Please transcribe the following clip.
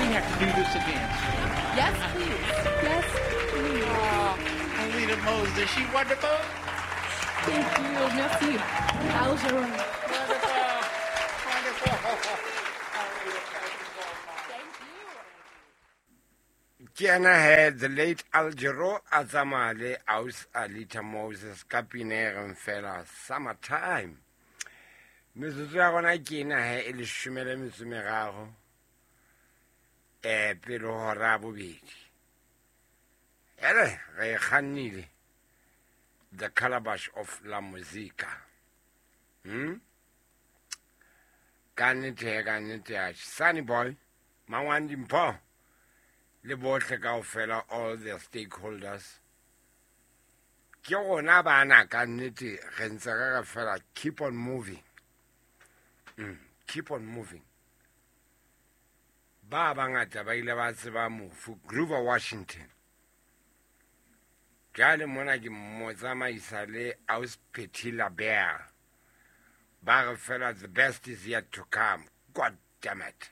We have to do this again. Yes, please. Yes, please. Oh, Alita Moses, is she wonderful? Thank you. Merci. Al Jarreau. Wonderful. Wonderful. Ke yena he the late Al Jarreau a tsamaya le aus Alita Moses ka pina e reng fela Summertime. Metsotso ya gona ke ena he e leshome le metso meraro um pele ho hora ya bobedi. Ele re e kgannile the calabash of la musica. Ka nnete he, ka nnete ya Sunny Boy, Mangwane Dimpho le bohle kaofela, all the stakeholders. Ke rona bana ka nnete re ntse re re fela keep on moving. Keep on moving. Ba bangata ba ile ba tseba mofu Grover Washington. Jwale mona ke mo tsamaisa le Aus Patti LaBelle. Ba re fela the best is yet to come. God damn it.